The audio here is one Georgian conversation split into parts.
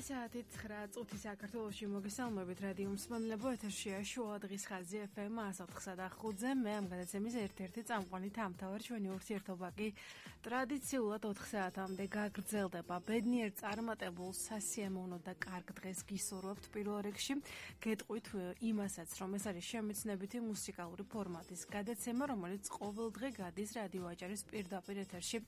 საათით 9 წუთი საქართველოში მოგესალმებით რადიო მსმენელებო ეთერშია შუა დღის ხაზი FM 104.5-ზე მე ამ გადაცემის ერთ-ერთი წამყვანი თამთავარ ჩვენი ურთიერთობა კი ტრადიციულად 4 საათამდე გაგრძელდება ბედნიერ წარმატებულ სასიამოვნო და კარგ დღეს გისურვებთ პირველ რიგში გეტყვით იმასაც რომ ეს არის შემეცნებითი მუსიკალური ფორმატის გადაცემა რომელიც ყოველდღე გადის რადიო აჭარის პირდაპირ ეთერში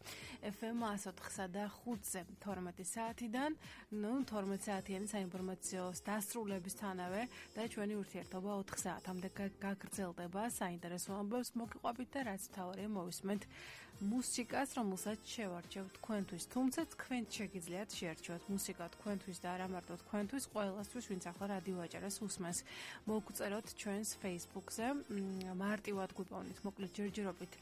FM 104.5-ზე 12 საათიდან 12 საათიანი საინფორმაციო დასრულებისთანავე და ჩვენი ურთიერთობა 4 საათამდე გაგრძელდება საინტერესო ამბებს მოგიყვებით და რაც თავარია მოვისმენთ მუსიკას რომელსაც შევარჩევ თქვენთვის თუმცა თქვენ შეგიძლიათ შეერჩიოთ მუსიკა თქვენთვის და არა მარტო თქვენთვის ყველასთვის ვინც ახლა რადიო აჭარას უსმენს მოგწეროთ ჩვენს Facebook-ზე მარტივად გვიპოვნით მოკლედ ჯერჯერობით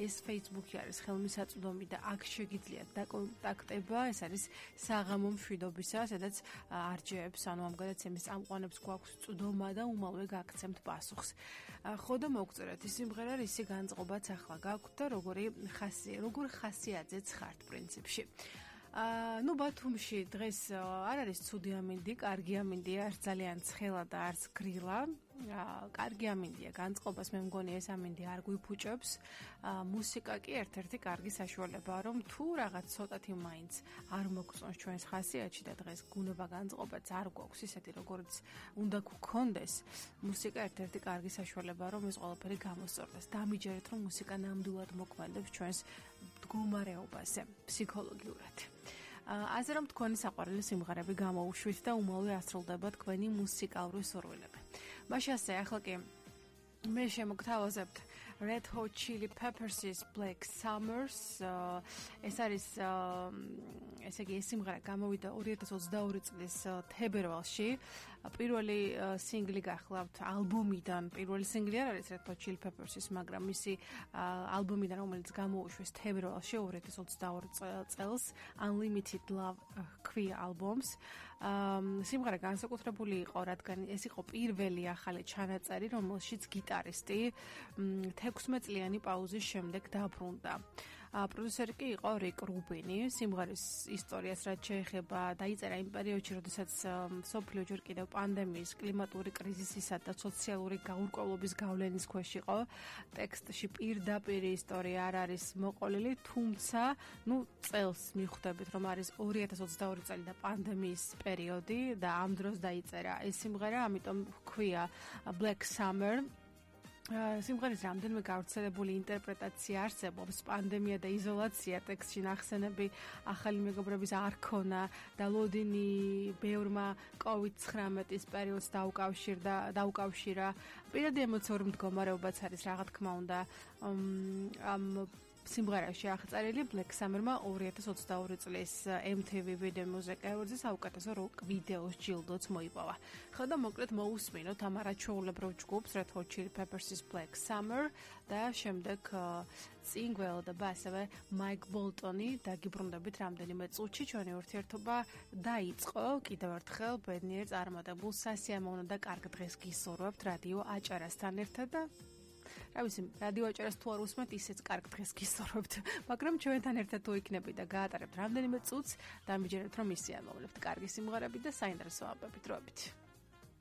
ეს Facebook-ი არის ხელმისაწვდომი და აქ შეგიძლიათ დაკონტაქტება ეს არის საღამო მშვიდობისა სადაც არჯეებს, ანუ ამ გადაცემის წამყვანებს გვაქვს წვდომა და უმალვე გაგცემთ პასუხს. ხო და მოგწერეთ ის სიმღერა, რისი განწყობაც ახლა გაქვთ და როგორ ხასიათზეც ხართ პრინციპში. Ну ბათუმში დღეს არ არის ცუდი ამინდი, კარგი ამინდია, არც ძალიან ცხელა და არც გრილა. კარგი ამინდია, განწყობას მე მგონი ეს ამინდი არ გვიფუჭებს. მუსიკა კი ერთ-ერთი კარგი საშუალებაა, რომ თუ რაღაც ცოტათი მაინც არ მოგწონს ჩვენს ხასიათში და დღეს გუნება განწყობაც არ გვაქვს ისეთი როგორც უნდა გქონდეს. მუსიკა ერთ-ერთი კარგი საშუალებაა, რომ ეს ყველაფერი გამოსწორდეს. დამიჯერეთ, რომ მუსიკა ნამდვილად მოქმედებს ჩვენს მდგომარეობაზე, ფსიქოლოგიურად. ასე რომ თქვენი საყვარელი სიმღერები გამოუშვით და უმალვე ასრულდება თქვენი მუსიკალური სურვილები. მაშინ ასე ახლა კი მე შემოგთავაზებთ Red Hot Chili Peppers' Black Summers ეს არის ესე იგი ეს სიმღერა გამოვიდა 2022 წლის თებერვალში პირველი სინგლი გახლავთ ალბომიდან პირველი სინგლი არ არის Red Hot Chili Peppers-ის მაგრამ მისი ალბომიდან რომელიც გამოუშვეს თებერვალში 2022 წელს Unlimited Love ქვია ალბომს სიმღერა განსაკუთრებული იყო რადგან ეს იყო პირველი ახალი ჩანაწერი რომელშიც გიტარისტი 16 წლიანი პაუზის შემდეგ დაბრუნდა. პროდიუსერი კი იყო რიკ რუბინი. სიმღერის ისტორიას რაც შეეხება, დაიწერა იმ პერიოდში, როდესაც სოფლიო ჯერ კიდევ პანდემიის, კლიმატური კრიზისისა და სოციალური გაურკვევლობის გავლენის ქვეშ იყო. ტექსტში პირდაპირ ისტორია არ არის მოყოლილი, თუმცა, წელს მიხვდებით, რომ არის 2022 წელი და პანდემიის პერიოდი და ამ დროს დაიწერა ეს სიმღერა, ამიტომ ჰქვია Black Summer. სიმღერის რამდენიმე გავრცელებული ინტერპრეტაცია არსებობს პანდემია და იზოლაცია ტექსტში ნახსენები ახალი მეგობრების არ ქონა და ლოდინი ბევრმა COVID-19-ის პერიოდს დაუკავშირა პირადი ემოციური მდგომარეობაც არის რა თქმა უნდა ამ სიმღერაში აღწერილი Black Summer-მა 2022 წლის MTV Video Music Awards-ის საუკეთესო როკ ვიდეოს ჯილდოც მოიპოვა. ხო და მოკლედ მოусმინოთ ამ არაჩვეულებრივ ჯგუფს Red Hot Chili Peppers-ის Black Summer და შემდეგ წინ გველოდება ასევე Mike Bolton-ი დაგიბრუნდებით რამდენიმე წუთში ჩვენი ურთიერთობა დაიწყო კიდევ ერთხელ ბედნიერ წარმატებულ სასიამოვნო და კარგ დღეს გისურვებთ რადიო აჭარასთან ერთად და რა ვიცი, რადიო აჭარას თუ არ უსმენთ, ისეც კარგ დღეს გისურვებთ. მაგრამ ჩვენთან ერთად თუ იქნებით და გაატარებთ რამდენიმე წუთს, დამიჯერეთ რომ ისე ამოვლებთ კარგი სიმღერები და საინტერესო ამბებით როებით.